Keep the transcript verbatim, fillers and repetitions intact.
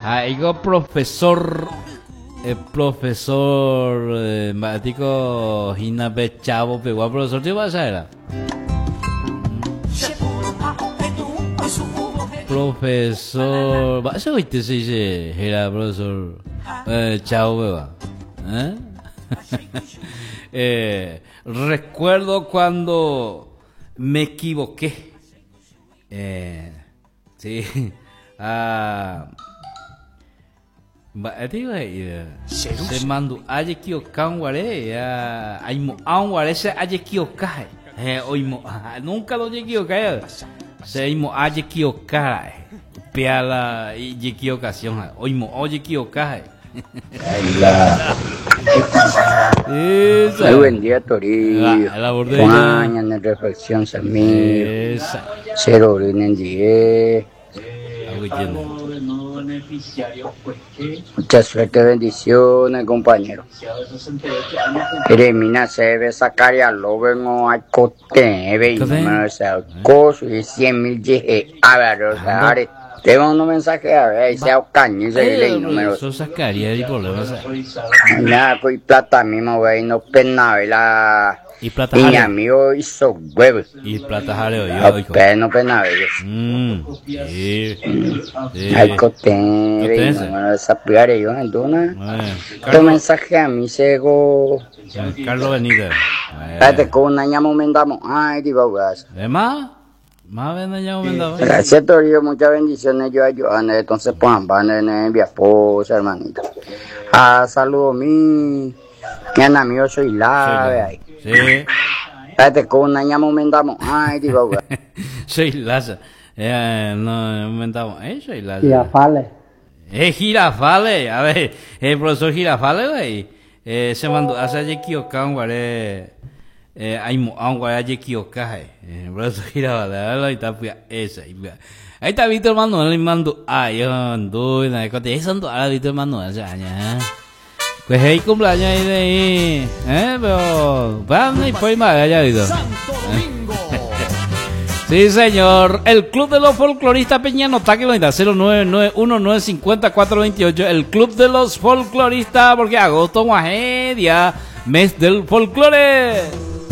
Ha'éiko profesor eh, profesor eh, mba'étiko hína pe Chavo pegua profesor tío mba'éicha Profesor mba'éicha oite se dice héra profesor eh, Chavo pegua eh? eh, recuerdo cuando me equivoqué eh, sí ah, Mba'étiko he'i che mandu'a ajekiokãguare aimo'ãguare che ajekioka he oimo'ã nunca lo ojekiokái che aimo'ã ajekiokára'e upéva la ijekiokación oimo'ã ojekioka he'i. Muy buen día, Toribio. Juan, ñane reflexión, Samir. Che rory nendive. Mucha suerte, bendiciones, compañero. Eremína chéve Zacarías López no aikotevẽ número ese coso y cien mil jehe'a o sea, are te mando mensaje a ver, ahí sea okañy seguirle el número. Eso Zacarías el problema. Nada, con plata mismo, güey, no pena, la Y plata y mi amigo hizo huevo. Y plata jaleo yo, hijo. No pena, Mm, sí. Sí. Aikotevẽ, número de sapiare yo, entonces. Tu mensaje a mí sego. Carlos Benítez. Espérate, con una ñamo mendamos. Ay, digo, gas. ¿Es más? Más ven ñamo mendamos. Gracias, Toribio. Muchas bendiciones. Yo ayudo. Entonces, pues, van en mi esposa, hermanito. Ah, saludo mi. Mi amigo soy la. Ahí. Sí. Espérate, con una ñamo mendamos. Ay, digo, gas. Soy Laza. Eh, no, inventamos. Eh, soy Laza. Girafales. Eh, Girafales. A ver, el profesor Girafales, güey. Eh, se mandó a hacer equivocado, eh, aimo'ãguare ajekioka eh, profesor Girafales, ahí está, pues, esa, ahí está Víctor Manuel, mandu'a, yo, ndu, na, eso ando Víctor Manuel, ya, ya. Pues ahí cumpleaños ahí de ahí, eh, pero, van y pues más allá, Víctor. Sí, señor. El Club de los Folcloristas Peñanota, que lo da cero nueve nueve uno nueve cinco cero cuatro veintiocho. El Club de los Folcloristas, porque agosto, día, mes del folclore.